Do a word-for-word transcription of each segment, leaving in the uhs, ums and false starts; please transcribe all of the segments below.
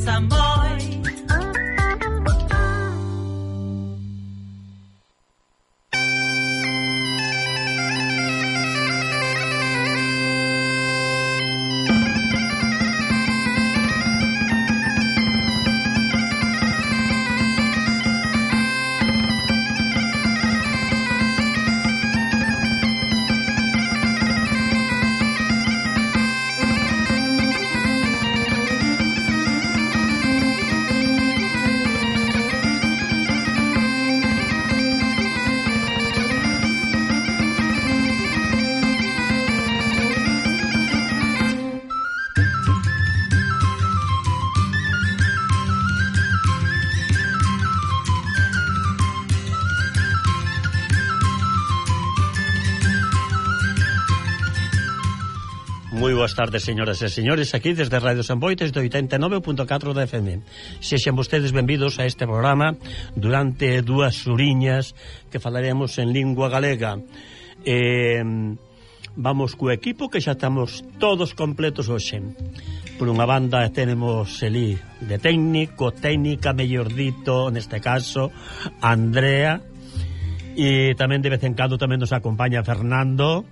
Samboy. Moi boas tardes, señoras e señores, aquí desde Radio Samboy, desde oitenta e nove punto catro da F M. Sexan vostedes benvidos a este programa durante dúas horiñas que falaremos en lingua galega. Eh, vamos co equipo que xa estamos todos completos hoxe. Por unha banda tenemos elí de técnico, técnica, mellor dito, neste caso, Andrea, e tamén de vez en cando tamén nos acompaña Fernando.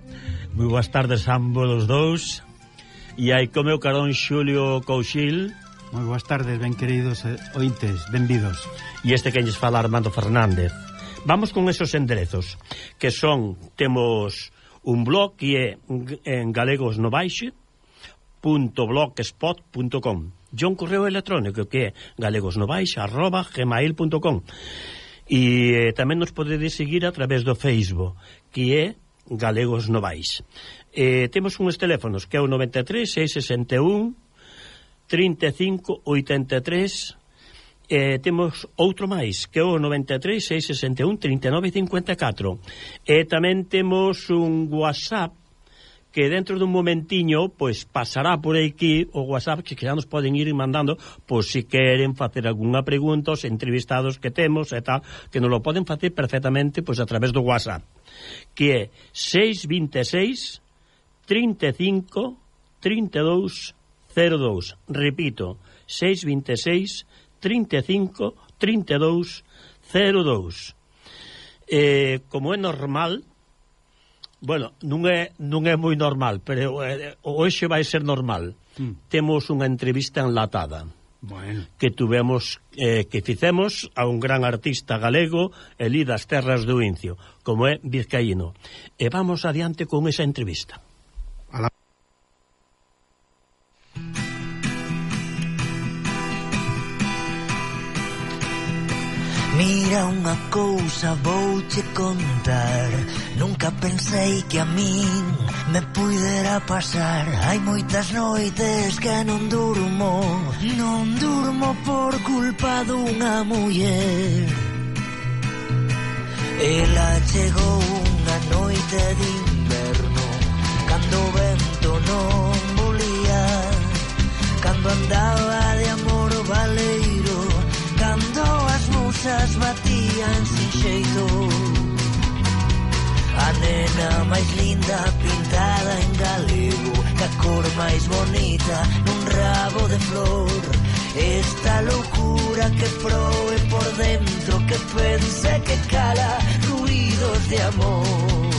Moi boas tardes a ambos os dous. E hai co meu carón Xulio Couchil. Moi boas tardes, ben queridos ointes, benvidos. E este que lles fala Armando Fernández. Vamos con esos enderezos, que son, temos un blog que é en galegosnovaixe punto blogspot punto com e un correo electrónico que é galegosnovaixe arroba gmail punto com. E eh, tamén nos podedes seguir a través do Facebook, que é Galegos Novais. Eh, temos uns teléfonos que é o noventa e tres, seiscentos e sesenta e un, trinta e cinco, oitenta e tres. Eh, temos outro máis que é o noventa e tres, seiscentos e sesenta e un, trinta e nove, cincuenta e catro. E tamén temos un WhatsApp que dentro dun momentiño pois pasará por aquí o WhatsApp, que xa nos poden ir mandando pois si queren facer algunha pregunta aos entrevistados que temos e tal, que nos lo poden facer perfectamente pois a través do WhatsApp, que é seis vinte e seis, trinta e cinco, trinta e dous, cero dous. Repito, seis vinte e seis, trinta e cinco, trinta e dous, cero dous. Eh, como é normal, bueno, non é, non é moi normal, pero eh, hoxe vai ser normal. Mm. Temos unha entrevista enlatada. Bueno. Que tuvemos, eh, que fizemos a un gran artista galego, elí das terras do Incio, como é vizcaíno. E vamos adiante con esa entrevista. A la... Mira unha cousa vouche contar, nunca pensei que a min me puidera pasar. Hai moitas noites que non durmo, non durmo por culpa dunha muller. Ela chegou unha noite de inverno, cando o vento non volía, cando andaba de amor valeiro, cando as musas batían sin xeito. A nena máis linda pintada en galego, ca cor máis bonita nun rabo de flor. Esta loucura que proe por dentro, que pense que cala ruidos de amor.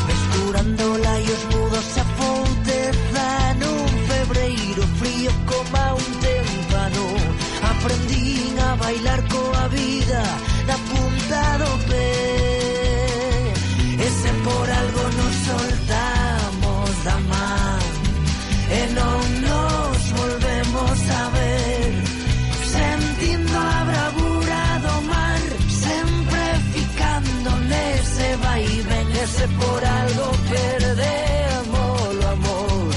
Mesturando laios mudos a fouteza nun febreiro frío como un témpano. Aprendín a bailar coa vida na punta do pé, e se por algo nos soltamos da man e non nos volvemos a ver, sentindo a bravura do mar, sempre ficando nese vai e ven. E se por algo perdemos o amor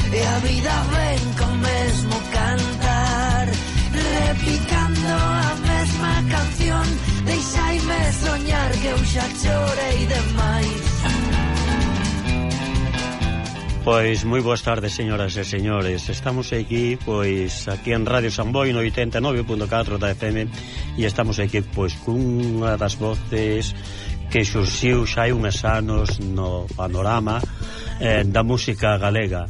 e a vida ven con mesmo cantar, repicando a mesma canción, deixaime soñar que eu xa chorei demais. Pois moi boas tardes, señoras e señores. Estamos aquí, pois, aquí en Radio Samboy no oitenta e nove punto catro da F M, e estamos aquí, pois, cunha das voces que xurxiu xa hai unhas anos no panorama eh, da música galega.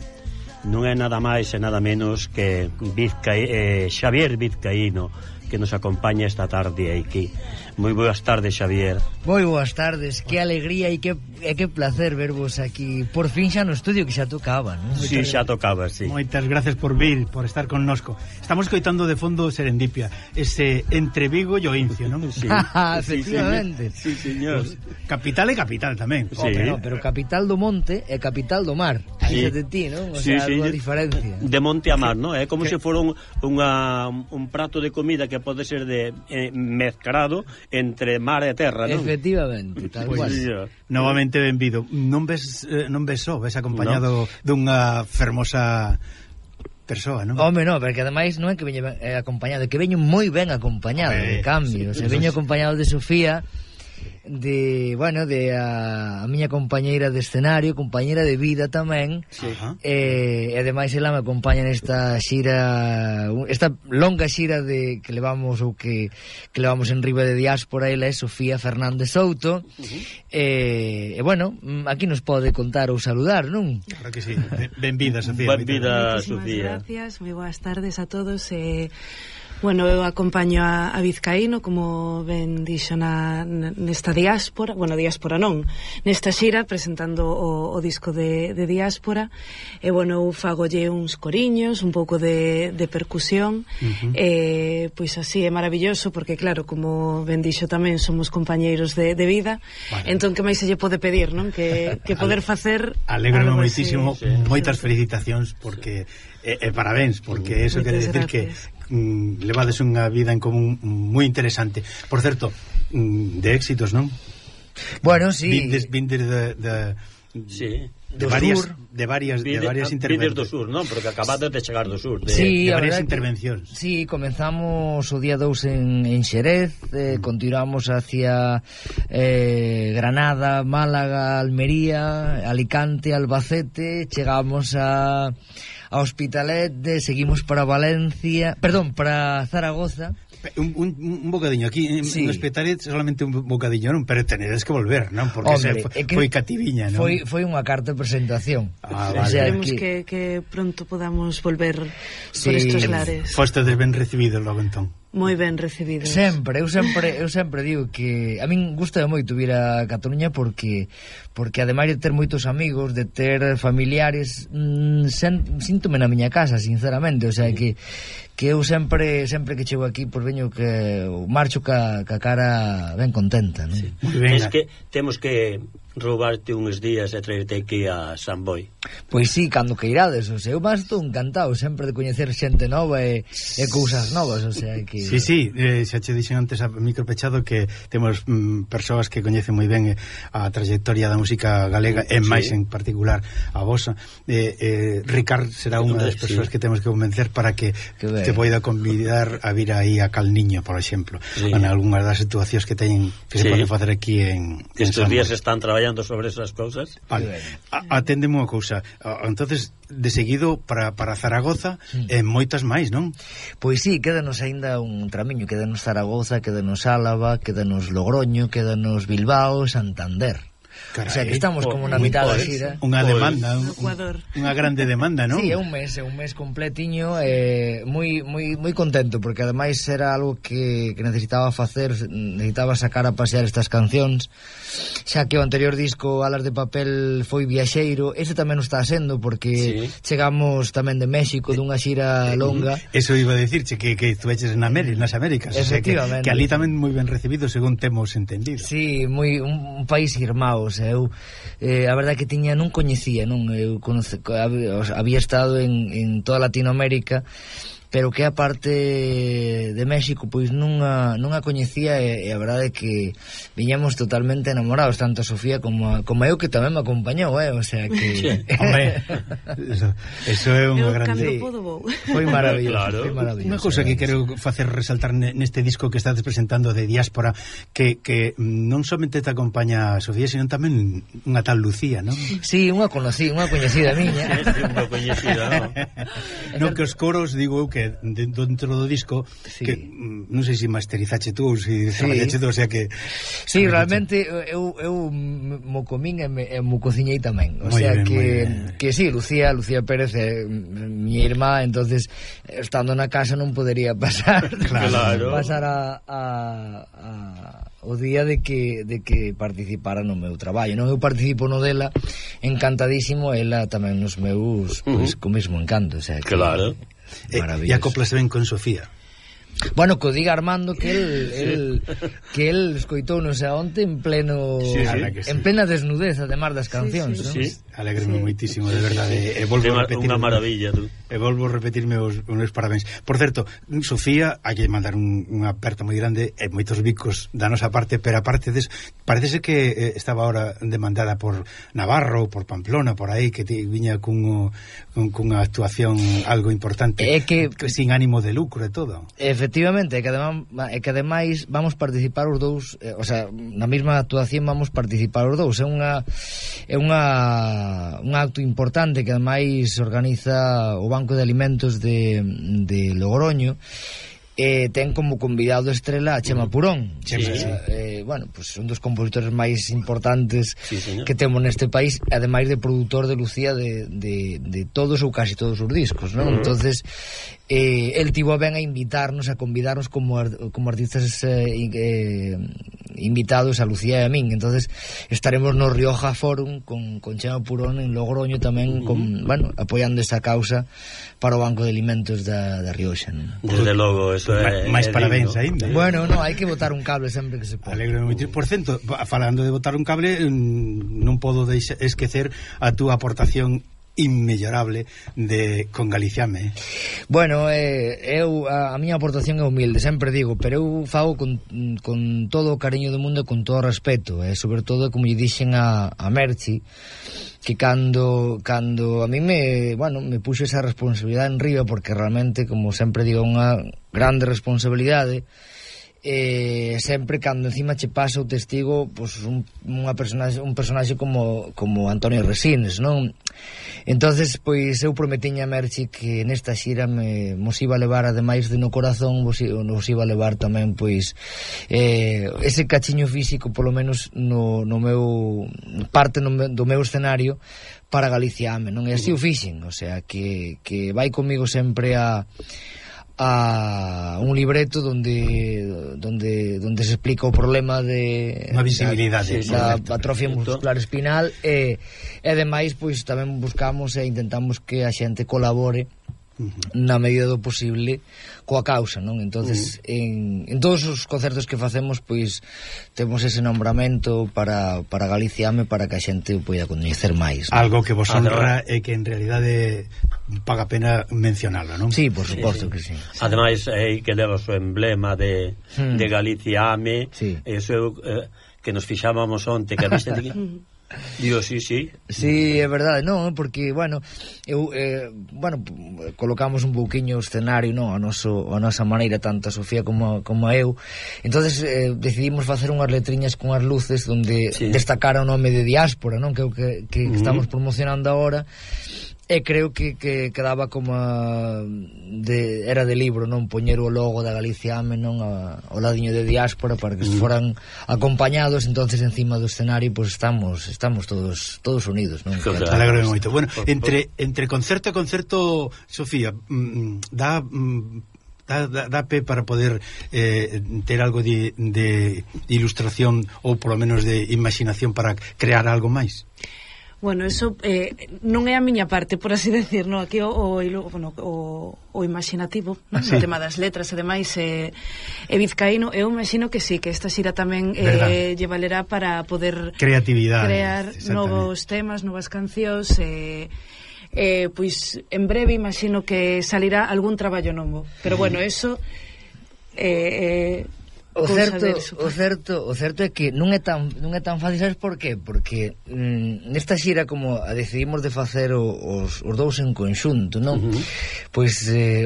non é nada máis e nada menos que Vizca, eh, Xavier Vizcaíno, que nos acompaña esta tarde aquí. Moi boas tardes, Xavier. Moi boas tardes, que alegría e que, e que placer vervos aquí por fin xa no estudio, que xa tocaba, non? Si, sí, xa tocaba, sí. Moitas gracias por vir, por estar connosco. Estamos coitando de fondo Serendipia, ese entre Vigo e Oincio, non? Sí. Efectivamente. Sí, señor. Pues, capital e capital tamén. Sí. Oh, pero, pero capital do monte e capital do mar. Aí Sí. de ti, non? O Sí, sea, sí, algo a diferencia. de monte a mar, non? É como se fora un, unha, un prato de comida que pode ser de eh, mezclado entre mar e terra, non? Efectivamente, tal Pois, cual. Sí, novamente benvido. Non ves eh, non ves só, ves acompañado no. dunha fermosa persoa, non? Home, non, porque ademais non é que veño eh, acompañado, é que veño moi ben acompañado, Eh, de cambio. sí, Se veño sí. acompañado de Sofía, de, bueno, de a, a miña compañeira de escenario, compañeira de vida tamén. Sí. Ajá. Eh, e ademais ela me acompaña nesta xira, esta longa xira de que levamos ou que, que levamos en Riba de Diáspora. Ela é Sofía Fernández Souto. Uh-huh. eh, e bueno, aquí nos pode contar ou saludar, non? Claro que sí. Benvida, Sofía. Benvida, Muchísimas Sofía. gracias, moi boas tardes a todos. eh, Bueno, eu acompaño a, a Vizcaíno, como ben dixo na, nesta diáspora, bueno, diáspora non, nesta xira, presentando o, o disco de, de diáspora, e bueno, eu fagolle uns coriños, un pouco de, de percusión, uh-huh. e pois así é maravilloso, porque claro, como ben dixo tamén, somos compañeiros de, de vida, vale. Entón que máis se lle pode pedir, non? Que, que poder facer... Alégrame moitísimo, así, moitas felicitacións, porque e, e parabéns, porque eso quere decir que mm, levades unha vida en común moi interesante. Por certo, mm, de éxitos, non? Bueno, sí. Vindes, vindes de, de, Sí. de Do varias, sur. de varias, de Vide, varias vides intervencións. do sur, non? Porque acabades de chegar do sur. De... Sí, de a varias verdade que- intervencións. Sí, comenzamos o día dous en, en Xerez, eh, continuamos hacia eh, Granada, Málaga, Almería, Alicante, Albacete, chegamos a, a Hospitalet, de, seguimos para Valencia, perdón, para Zaragoza. Un, un, un bocadiño aquí en, Sí. en Hospitalet, solamente un bocadiño, non? Pero tenedes que volver, non? Porque Hombre, se foi, é que foi cativiña, non? Foi, foi unha carta de presentación. Ah, O vale. sea, Esperemos que- que, que pronto podamos volver Sí. por estos lares. Fostedes ben recibidos logo entón. Moi ben recibidos. Sempre, eu sempre, eu sempre digo que a min gusta moito vir a Cataluña porque porque ademais de ter moitos amigos, de ter familiares, mmm, sen, síntome na miña casa, sinceramente, o sea que que eu sempre sempre que chego aquí, pois veño que marcho ca, ca cara ben contenta, non? Sí. Moi ben. Es que temos que roubarte uns días e traerte aquí a San Boi. Pois sí, cando que irades, o sea, eu máis estou encantado sempre de coñecer xente nova e, e cousas novas, o sea que... Sí, sí, eh, xa che dixen antes a micro pechado que temos mm, persoas que coñecen moi ben eh, a trayectoria da música galega e Sí. máis en particular a vosa. Eh, eh, Ricard será unha das persoas Sí. que temos que convencer para que, Que ben. te poida convidar a vir aí a Cal Niño, por exemplo, Sí. en algunhas das situacións que teñen que se Sí. poden facer aquí en, en Estes San días Boi. están traballando sobre esas cousas. Vale. A- Aténdeme unha cousa. A- Entonces, de seguido para, para Zaragoza e moitas máis, non? Pois sí, quédanos aínda un tramiño, quédanos Zaragoza, quédanos Álava, quédanos Logroño, quédanos Bilbao, Santander. Carai. O sea que estamos como na Moi mitad da pois. xira. Unha Pois. demanda, un, Ecuador. unha grande demanda, non? Sí, é un mes, é un mes completiño, eh, moi moi moi contento porque ademais era algo que, que necesitaba facer, necesitaba sacar a pasear estas cancións. Xa que o anterior disco Alas de Papel foi viaxeiro, este tamén o está sendo porque Sí. chegamos tamén de México dunha xira longa. Eso iba a decirche que, que estuveches en América, nas Américas, o sea, que, Efectivamente. que ali tamén moi ben recibido según temos entendido. Sí, moi un, un país irmão, o sea, eu eh, a verdade que tiña non coñecía, non, eu conoce, había, había estado en, en toda Latinoamérica, pero que a parte de México pois non a, non a coñecía e, e a verdade é que viñamos totalmente enamorados, tanto a Sofía como a, como a eu, que tamén me acompañou, eh, o sea que Sí. Hombre, eso, eso é unha Eu grande... cando podo vou. foi maravilloso, Claro. foi maravilloso. Unha cousa que quero facer resaltar neste disco que estás presentando de Diáspora, que, que non somente te acompaña a Sofía, sino tamén unha tal Lucía, non? Sí, unha conocí, unha coñecida miña. É unha coñecida, non? Non que os coros, digo eu, que eh, dentro do disco sí. que mm, non sei se masterizache tú ou se sí. traballache tú, o sea que sí, realmente eu, eu mo comín e, me, e mo cociñei tamén, o muy sea bien, que, que sí, Lucía Lucía Pérez é miña irmá, entonces estando na casa non podería pasar claro. pasar a, a, a o día de que de que participara no meu traballo. Non eu participo no dela encantadísimo, ela tamén nos meus, uh -huh. pois co mesmo encanto, o sea, que claro. E, e acoplase ben con Sofía. Bueno, que o diga Armando que el, el que el escoitou non sei onte en pleno sí, sí. en plena desnudez, además das cancións, sí, sí, ¿no? sí. Alégreme sí. moitísimo, de verdade. E volvo a repetir unha maravilla, tú. E volvo a repetirme os, os parabéns. Por certo, Sofía, hai que mandar un, unha aperta moi grande e moitos bicos da nosa parte, pero aparte des, parece que eh, estaba ahora demandada por Navarro, por Pamplona, por aí, que te, viña cun, cun, cunha actuación algo importante, é que, que sin ánimo de lucro e todo. Efectivamente, é que ademais, é que ademais vamos participar os dous, eh, o sea, na mesma actuación vamos participar os dous. É unha é unha un acto importante que ademais organiza o Banco de Alimentos de, de Logroño. Eh, ten como convidado estrela a Chema Purón, sí, que, sí. Eh, bueno, pues un dos compositores máis importantes sí, que temos neste país, ademais de produtor de Lucía de, de, de todos ou casi todos os discos, ¿no? Uh -huh. Entonces eh, el tivo a ben a invitarnos, a convidarnos como, como artistas eh, eh, invitados a Lucía e a min. Entonces estaremos no Rioja Forum con, con Chema Purón en Logroño tamén, uh -huh. con, bueno, apoiando esa causa para o Banco de Alimentos da, da Rioxa, ¿no? Desde logo, eso é máis parabéns aínda. Bueno, no, hai que botar un cable sempre que se pode. Alegro moito. Por cento, falando de botar un cable, non podo deixar, esquecer a túa aportación inmellorable de con Galiciame. Bueno, eh, eu a, a miña aportación é humilde, sempre digo, pero eu fago con, con todo o cariño do mundo e con todo o respeto, e eh, sobre todo como lle dixen a, a Merchi, que cando cando a mí me, bueno, me puxo esa responsabilidade en riba, porque realmente, como sempre digo, unha grande responsabilidade. Eh, sempre cando encima che pasa o testigo, pues, un, unha personaxe, un personaxe como, como Antonio Resines, non? Entonces, pois eu prometiña a Merchi que nesta xira me mos iba a levar, ademais de no corazón, vos, nos iba a levar tamén, pois eh, ese cachiño físico, polo menos no, no meu parte no meu, do meu escenario para Galiciame, non? E así o fixen, o sea, que, que vai comigo sempre a a un libreto donde donde donde se explica o problema de unha visibilidade da, da atrofia muscular espinal e, e ademais pois tamén buscamos e intentamos que a xente colabore Uh -huh. na medida do posible coa causa, non? Entonces, uh -huh. en, en todos os concertos que facemos, pois temos ese nombramento para, para Galiciame, para que a xente o poida coñecer máis, non? Algo que vos honra e que en realidade paga pena mencionarlo, non? Sí, por suposto sí, sí. que sí. Ademais, é que leva o seu emblema de, hmm. de Galiciame, sí. Eso eh, que nos fixábamos onte, que a viste de... Digo, sí, sí. Sí, é verdade, non, porque, bueno, eu, eh, bueno, colocamos un pouquiño o escenario, non, a, noso, a nosa maneira, tanto a Sofía como, como a eu. Entonces eh, decidimos facer unhas letriñas con as luces donde sí. destacara o nome de Diáspora, non, que, que, que uh -huh. estamos promocionando agora. E creo que, que quedaba como a, de, era de libro, non, poñer o logo da Galiciame, non, a, o ladiño de Diáspora para que mm. foran acompañados. Entonces encima do escenario pues estamos estamos todos todos unidos, non? Claro. Alegro moito. Bueno, entre entre concerto e concerto, Sofía, mm, dá mm, Da, da, da pé para poder eh, ter algo de, de ilustración ou polo menos de imaginación para crear algo máis? Bueno, eso eh, non é a miña parte, por así decir, no? Aquí o, o, bueno, o, o imaginativo, no? Sí. O tema das letras e demais e, e Vizcaíno, eu imagino que sí, que esta xira tamén eh, lle valerá para poder creatividade, crear novos temas, novas cancións e eh, pois en breve imagino que salirá algún traballo novo, pero bueno, eso eh, eh O certo, o certo, o certo é que non é tan non é tan fácil, sabes por qué? Porque mm, nesta xira como a decidimos de facer o, os, os dous en conxunto, non? Uh -huh. Pois eh,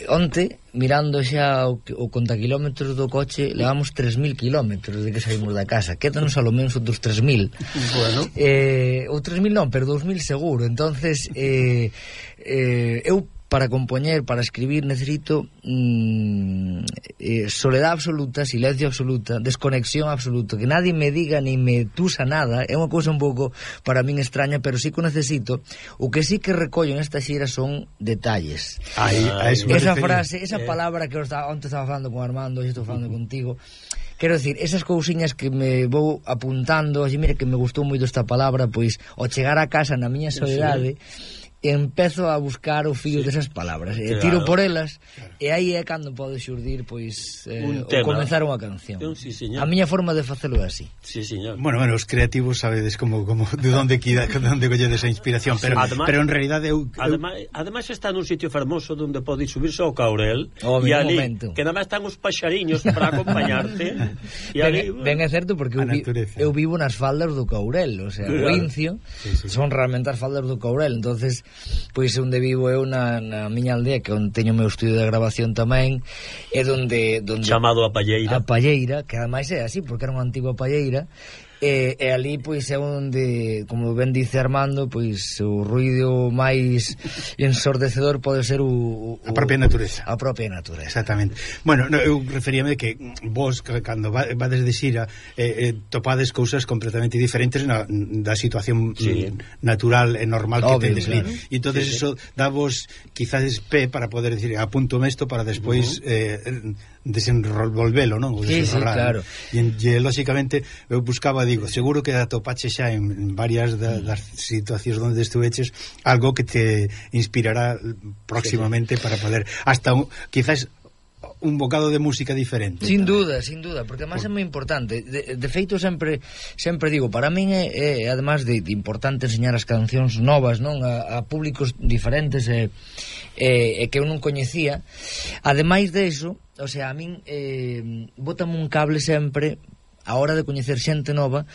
onte, mirando xa o, o contaquilómetros do coche, levamos tres mil kilómetros de que saímos da casa. Quédanos a lo menos outros tres mil. Bueno. Eh, ou tres mil non, pero dous mil seguro. Entonces, eh, eh, eu para compoñer, para escribir, necesito mm, eh, soledad absoluta, silencio absoluta, desconexión absoluta, que nadie me diga ni me tusa nada. É unha cousa un pouco para min extraña, pero sí que o necesito. O que sí que recollo nesta xira son detalles. Aí, a eso esa refería. frase, esa eh. palabra que eu estaba, onte estaba falando con Armando, hoxe estou falando contigo. Quero decir, esas cousiñas que me vou apuntando, así, mire que me gustou moito esta palabra, pois ao chegar a casa na miña soledade, sí, empezo a buscar o fío sí. desas palabras, claro. E tiro por elas, claro. E aí é cando pode xurdir, pois, eh, o comenzar unha canción. Un, sí, a miña forma de facelo é así. Sí, señor. Bueno, bueno, os creativos sabedes como, como de onde quida, de onde colledes a inspiración, pero, además, pero en realidade eu, eu... Además, además está nun sitio fermoso onde pode subirse ao Caurel, oh, e ali, momento. que nada máis están os paxariños para acompañarte. E ali, ben, ben é certo, porque eu, vi, eu vivo nas faldas do Caurel, o sea, claro. O Incio, sí, sí. Son realmente as faldas do Caurel, entonces, pois onde vivo eu na, na miña aldea, que onde teño o meu estudio de grabación tamén, é donde, donde chamado a Palleira. A Palleira, que ademais é así, porque era unha antiga palleira, e, e ali pois é onde, como ben dice Armando, pois o ruido máis ensordecedor pode ser o, o a propia natureza. A propia natureza. Exactamente. Bueno, no, eu referíame que vos cando vades de xira eh, eh, topades cousas completamente diferentes na, da situación sí. natural e normal que obvio, tedes claro. ali. E entonces sí, sí. eso davos quizás pé para poder decir, apunto isto para despois uh-huh. eh, desenvolvelo, non? Sí, sí, claro. E, e lógicamente eu buscaba, digo, seguro que atopache xa en varias da, das situacións onde estuveches algo que te inspirará próximamente sí, para poder hasta un, quizás un bocado de música diferente. Sin duda, sin duda, porque además Por... é moi importante. De, de feito sempre sempre digo, para min é, é además de, de importante enseñar as cancións novas, non, a, a públicos diferentes e eh, eh, que eu non coñecía. Ademais de iso, o sea, a min eh, bótame un cable sempre a hora de coñecer xente nova,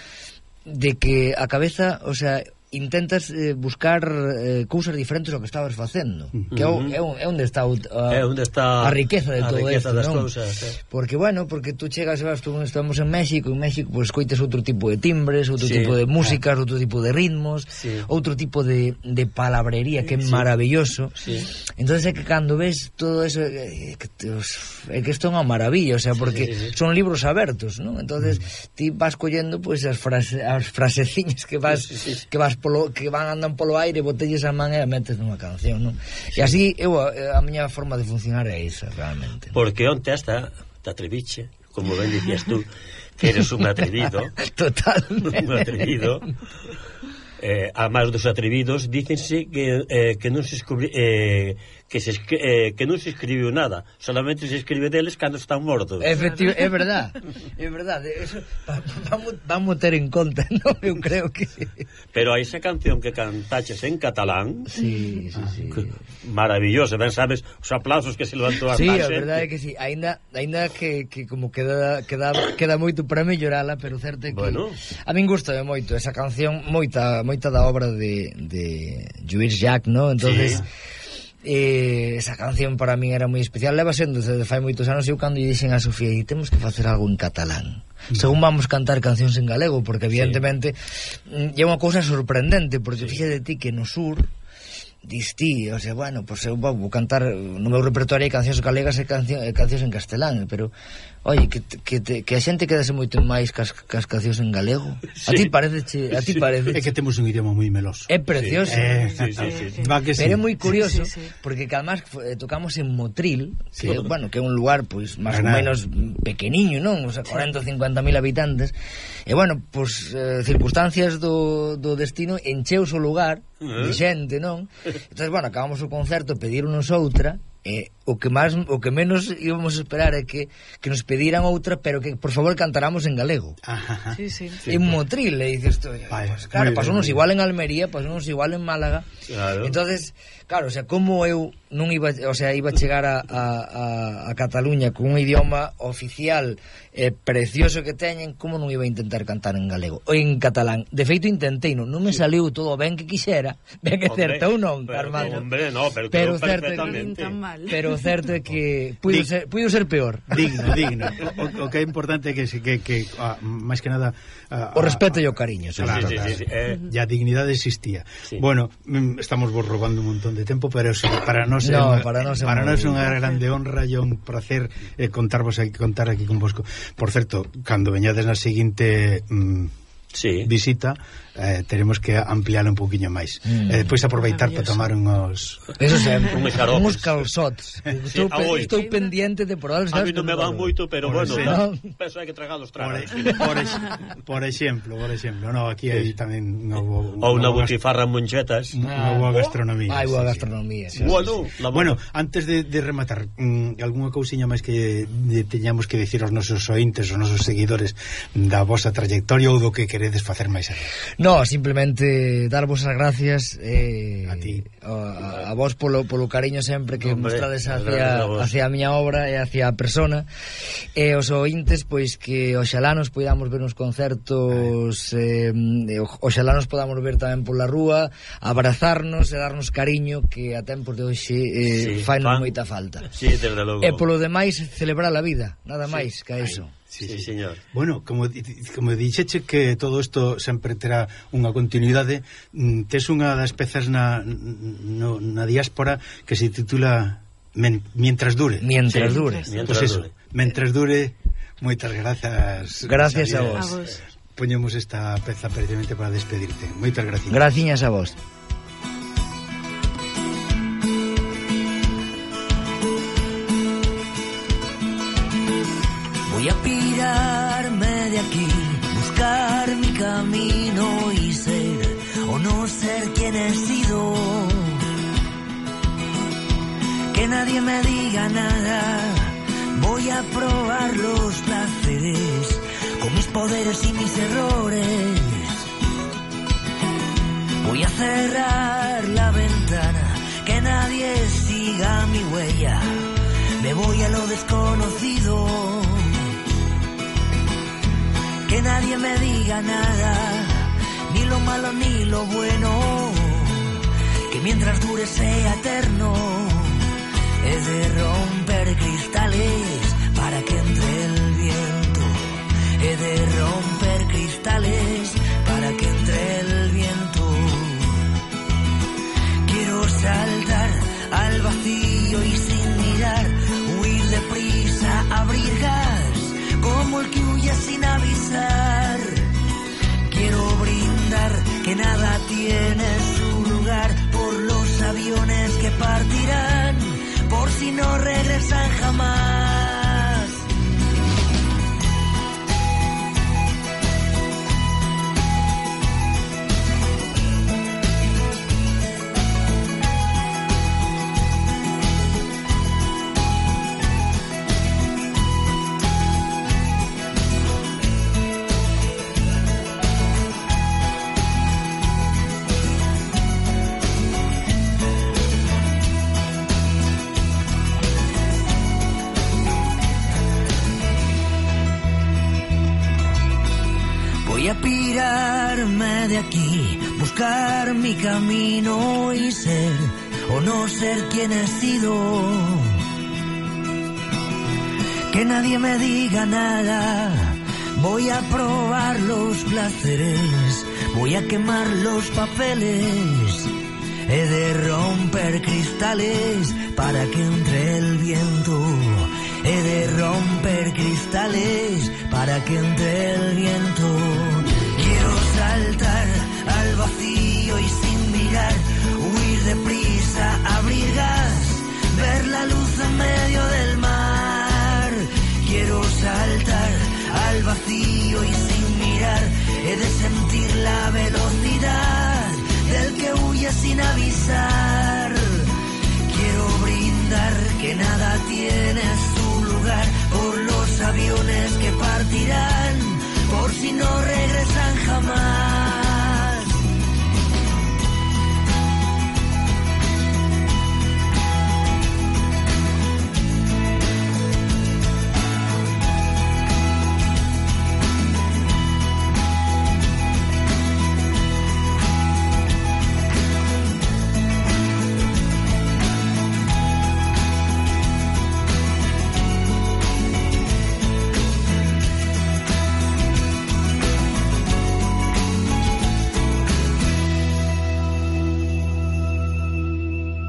de que a cabeza, o sea, intentas eh, buscar eh, cousas diferentes ao que estabas facendo, uh-huh. que é, o, é, o, é onde está, o, a, é onde está a riqueza de a todo riqueza isto, das non? Cousas, eh. Porque, bueno, porque tú chegas, vas, tú, estamos en México, en México, pues coites outro tipo de timbres, outro sí. tipo de músicas, ah. outro tipo de ritmos, sí. outro tipo de, de palabrería que é sí. maravilloso. Sí. Entonces é que cando ves todo eso, é que, é que isto é unha maravilla, o sea, porque sí, sí, sí. son libros abertos, non? Entonces mm. ti vas collendo, pues, as, frase, as fraseciñas que vas sí, sí, sí. que vas polo, que van andan polo aire, botelles a man e a metes nunha canción, non? Sí. E así, eu, a miña forma de funcionar é esa, realmente. Porque onte hasta te atreviche, como ben dicías tú, que eres un atrevido. Totalmente. Un atrevido. Eh, a máis dos atrevidos, dícense que, eh, que non se escubri, eh, que, se, eh, que non se escribiu nada, solamente se escribe deles cando están mortos. Efectivo, é verdad, é verdad, eso vamos, vamos ter en conta, non? Eu creo que... Pero hai esa canción que cantaches en catalán, sí, sí, sí. maravillosa, ben sabes os aplausos que se levantou a sí, xente. Sí, a verdade é que sí, ainda, ainda que, que como queda, queda, queda moito para mellorala, pero certo é que bueno. A min gusta moito esa canción, moita moita da obra de, de Lluís Llach, ¿no? Entonces sí. eh, esa canción para min era moi especial, leva sendo desde fai moitos anos. Eu cando lle dixen a Sofía, e temos que facer algo en catalán, mm. según vamos cantar cancións en galego, porque evidentemente sí. é unha cousa sorprendente, porque sí. fíxate ti que no sur dis ti, o sea, bueno, pues eu vou cantar no meu repertorio hai cancións galegas e cancións, cancións en castelán, pero oye, que, que, te, que a xente quedase moito máis cas, cas cancións en galego. Sí. A ti parece, a ti sí. parece. É que temos un idioma moi meloso. É precioso. Sí. Eh, sí, sí, sí, sí. Va que sí. Pero é moi curioso, sí, sí, sí. porque que además eh, tocamos en Motril, que, sí. bueno, que é un lugar pois pues, máis ou menos pequeniño, non? O sea, cuarenta ou cincuenta mil habitantes. E bueno, pois pues, eh, circunstancias do, do destino encheus o lugar uh-huh. de xente, non? Entonces, bueno, acabamos o concerto, pedironos outra. Eh, o que máis o que menos íbamos a esperar é que, que nos pediran outra, pero que por favor cantáramos en galego. Ajá. Sí, sí. En Motril, le dices tú, pues, claro, pasounos igual en Almería, pasounos igual en Málaga. Claro. Entonces, claro, o sea, como eu non iba, o sea, iba a chegar a, a, a Cataluña con un idioma oficial eh, precioso que teñen, como non iba a intentar cantar en galego ou en catalán? De feito intentei, non, non me saliu todo ben que quixera, ben que certo ou non, pero, Armando. Hombre, no, pero, pero certo, certo, tan mal. Pero certo é que puido ser, puido ser peor. Digno, digno. O, o que é importante é que, que, que ah, máis que nada... Ah, o respeto e o cariño. Claro, sí, claro. sí, sí, sí. Eh. E a dignidade existía. Sí. Bueno, estamos vos robando un montón de tempo, pero para nós é no, unha, para nós é para nós é unha muy... grande honra e un placer eh, contarvos aquí, contar aquí con vosco. Por certo, cando veñades na seguinte... Mm, sí. visita, eh, teremos que ampliar un poquinho máis. Mm. Eh, depois aproveitar para tomar uns... Eso sempre, uns uns calzots. Sí, estou, pe estou pendiente de probarlos. A mí non me van moito, pero por bueno, no. penso hai que tragalos Por, tragar. por, ex, por exemplo, por exemplo, no, aquí hai tamén unha boa... Ou unha butifarra en monchetas. Unha boa gastronomía. Hai boa sí, gastronomía. Sí. Sí, bueno, sí, sí. Bueno, antes de, de rematar, mmm, algunha cousiña máis que de, teñamos que dicir aos nosos ointes, aos nosos seguidores da vosa trayectoria ou do que queredes facer máis allá? No, simplemente darvos as gracias eh, a ti a, a vos polo, polo cariño sempre que Hombre, mostrades hacia, hacia a miña obra e hacia a persona, e os ointes pois que oxalá nos podamos ver nos concertos, eh, oxalá nos podamos ver tamén pola rúa, abrazarnos e darnos cariño, que a tempos de hoxe eh, sí, fainos fan... moita falta. Sí, desde logo. E polo demais celebrar a vida, nada máis sí. que a eso. Sí, sí, señor. Bueno, como, como dixeche que todo isto sempre terá unha continuidade, tes unha das pezas na, no, na diáspora que se titula Men, Mientras dure. Mientras sí, dure. Mientras pues eso, dure. Mientras dure, moitas grazas. Gracias a vos. a vos. Poñemos esta peza precisamente para despedirte. Moitas gracias. Graciñas a vos. Voy a pirarme de aquí, buscar mi camino y ser o no ser quien he sido. Que nadie me diga nada, voy a probar los placeres con mis poderes y mis errores. Voy a cerrar la ventana, que nadie siga mi huella. Me voy a lo desconocido. Que nadie me diga nada, ni lo malo ni lo bueno, que mientras dure sea eterno. He de romper cristales para que entre el viento. He de romper cristales para que entre el viento. Quiero saltar al vacío y sin mirar, huir deprisa, abrir gas, como el que huye sin avisar. Quiero brindar que nada tiene su lugar por los aviones que partirán, por si no regresan jamás. Voy a pirarme de aquí, buscar mi camino y ser o no ser quien he sido. Que nadie me diga nada, voy a probar los placeres, voy a quemar los papeles. He de romper cristales para que entre el viento. He de romper cristales para que entre el viento. Quiero saltar al vacío y sin mirar, huir deprisa, abrir gas, ver la luz en medio del mar. Quiero saltar al vacío y sin mirar, he de sentir la velocidad del que huye sin avisar.